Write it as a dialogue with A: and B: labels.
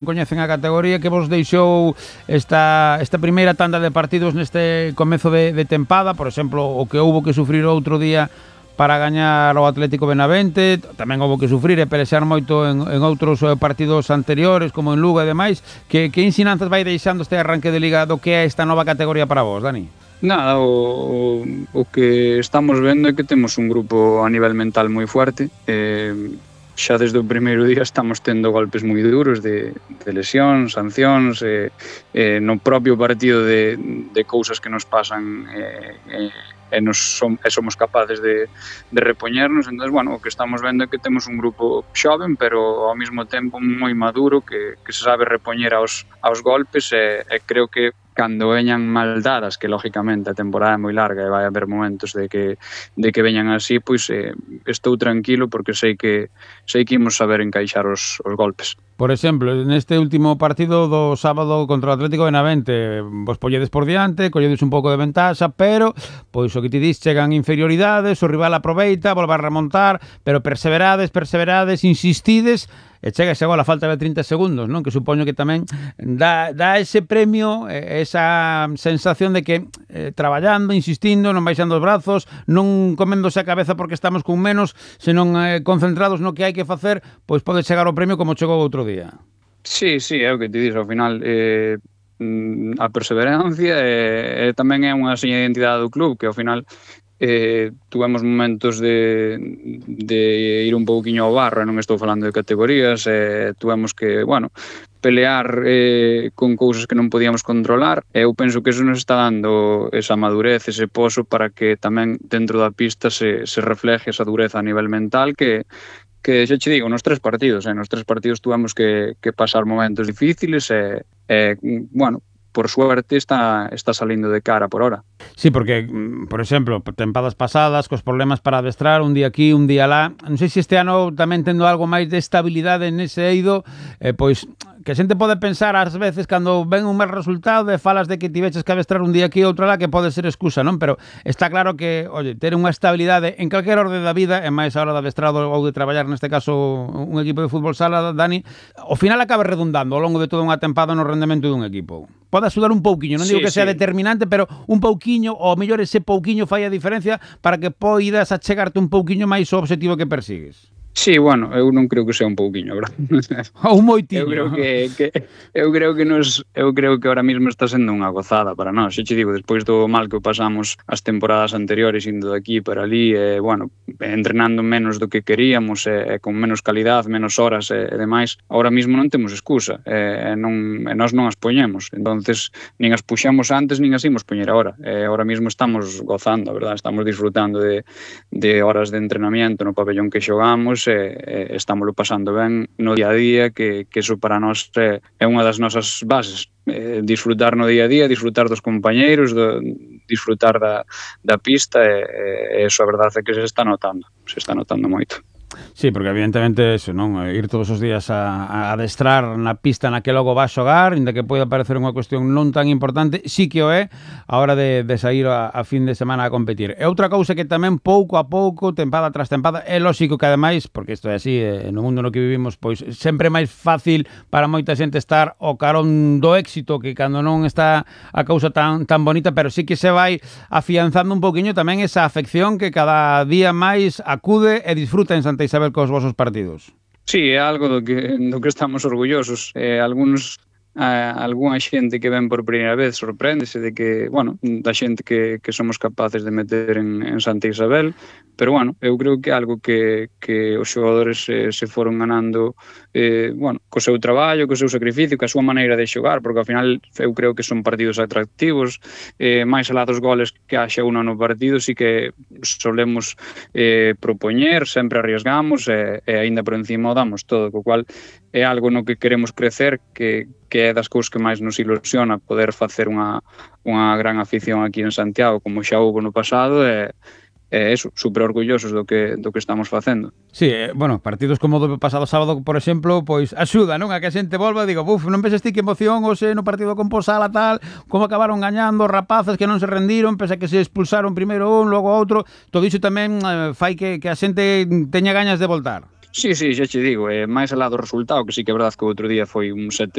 A: coñecen a categoría, que vos deixou esta primeira tanda de partidos neste comezo de tempada, por exemplo, o que houbo que sufrir outro día para gañar o Atlético Benavente, tamén houbo que sufrir e pelexar moito en outros partidos anteriores, como en Lugo e demais. Que ensinanzas vai deixando este arranque de liga do que é esta nova categoría para vos, Dani?
B: Nada, o que estamos vendo é que temos un grupo a nivel mental moi fuerte. Xa desde o primeiro día estamos tendo golpes moi duros de lesións, sancións, no propio partido de cousas que nos pasan e somos capaces de repoñernos. Entón, bueno, o que estamos vendo é que temos un grupo xoven, pero ao mesmo tempo moi maduro, que se sabe repoñer aos golpes, e creo que cando veñan mal dadas, que lógicamente a temporada é moi larga e vai haber momentos de que veñan así, pois estou tranquilo porque sei que imos saber encaixar os golpes.
A: Por exemplo, neste último partido do sábado contra o Atlético Benavente, vos polledes por diante, colledes un pouco de ventaxa, pero, pois o que ti dis, chegan inferioridades, o rival aproveita, volve a remontar, pero perseverades, insistides, e chega ese gol a falta de 30 segundos, non? Que supoño que tamén dá ese premio, esa sensación de que traballando, insistindo, non baixando os brazos, non coméndose a cabeza porque estamos con menos, senón concentrados no que hai que facer, pois pode chegar o premio como chegou outro día.
B: Sí, é o que te dixo, ao final a perseverancia tamén é unha seña de identidade do club, que ao final tuvemos momentos de ir un pouquiño ao barro, non estou falando de categorías, tuvemos que, bueno, pelear con cousas que non podíamos controlar, e eu penso que eso nos está dando esa madurez, ese poso para que tamén dentro da pista se refleje esa dureza a nivel mental que xa che digo, nos 3 partidos tuvemos que pasar momentos difíciles bueno, por suerte está salindo de cara por hora.
A: Sí, porque, por exemplo, tempadas pasadas, cos problemas para adestrar, un día aquí, un día lá, non sei se este ano tamén tendo algo máis de estabilidade nese eido, pois que a xente pode pensar ás veces cando ven un mal resultado e falas de que tiveches que adestrar un día aquí e outro lá, que pode ser excusa, non? Pero está claro que, oye, ter unha estabilidade en calquer orde da vida, e máis a hora de adestrado ou de traballar, neste caso, un equipo de fútbol sala, Dani, ao final acaba redundando ao longo de toda unha tempada no rendemento dun equipo. Pode axudar un pouquiño, non digo que sea determinante, pero un pouquiño, ou mellor ese pouquiño fai a diferencia para que poidas achegarte un pouquiño máis ao obxectivo que persigues.
B: Sí, bueno, eu non creo que sea un pouquiño, verdad?
A: Ou moitiño.
B: Eu creo que ahora mesmo está sendo unha gozada para nós. Xa che digo, despois do mal que pasamos as temporadas anteriores indo de aquí para ali, bueno, entrenando menos do que queríamos, con menos calidad, menos horas e demais, ahora mesmo non temos excusa, e nós non as poñemos. Entonces, nin as puxamos antes, nin as imos poñer agora. Ahora mesmo estamos gozando, a verdad, estamos disfrutando de horas de entrenamiento no pabellón que xogamos, estámoslo pasando ben no día a día, que eso para nós é unha das nosas bases, disfrutar no día a día, disfrutar dos compañeiros, disfrutar da pista, e eso a verdade é que se está notando moito.
A: Sí, porque evidentemente eso, non? Ir todos os días a adestrar na pista na que logo vas xogar, inda que poida parecer unha cuestión non tan importante, sí que o é a hora de sair a fin de semana a competir. E outra cousa que tamén pouco a pouco, tempada tras tempada, é lóxico que ademais, porque isto é así, no mundo no que vivimos, pois sempre é máis fácil para moita xente estar ao carón do éxito que cando non está a cousa tan bonita, pero sí que se vai afianzando un pouquiño tamén esa afección que cada día máis acude e disfruta en Santa Isabel cos vosos partidos.
B: Sí, é algo do que estamos orgullosos. Algúna xente que ven por primeira vez sorpréndese de que, bueno, da xente que somos capaces de meter en Santa Isabel, pero, bueno, eu creo que é algo que os xogadores se foron ganando, bueno, co seu traballo, co seu sacrificio, co a súa maneira de xogar, porque ao final eu creo que son partidos atractivos, máis alá dos goles que haxa uno no partido, sí que solemos propoñer, sempre arriesgamos, e aínda por encima o damos todo, co cual é algo no que queremos crecer, que é das cousas que máis nos ilusiona, poder facer unha gran afición aquí en Santiago, como xa houve no pasado, e eso, super orgullosos do que estamos facendo.
A: Sí, bueno, partidos como o do pasado sábado, por exemplo, pois axuda, non? A que a xente volva e diga, non penses ti que emoción hoxe no partido con Posala, tal, como acabaron gañando os rapaces que non se rendiron, pese a que se expulsaron primeiro un, logo outro, todo iso tamén fai que a xente teña gañas de voltar.
B: Sí, xa che digo, máis alá do resultado, que sí que é verdade que o outro día foi un 7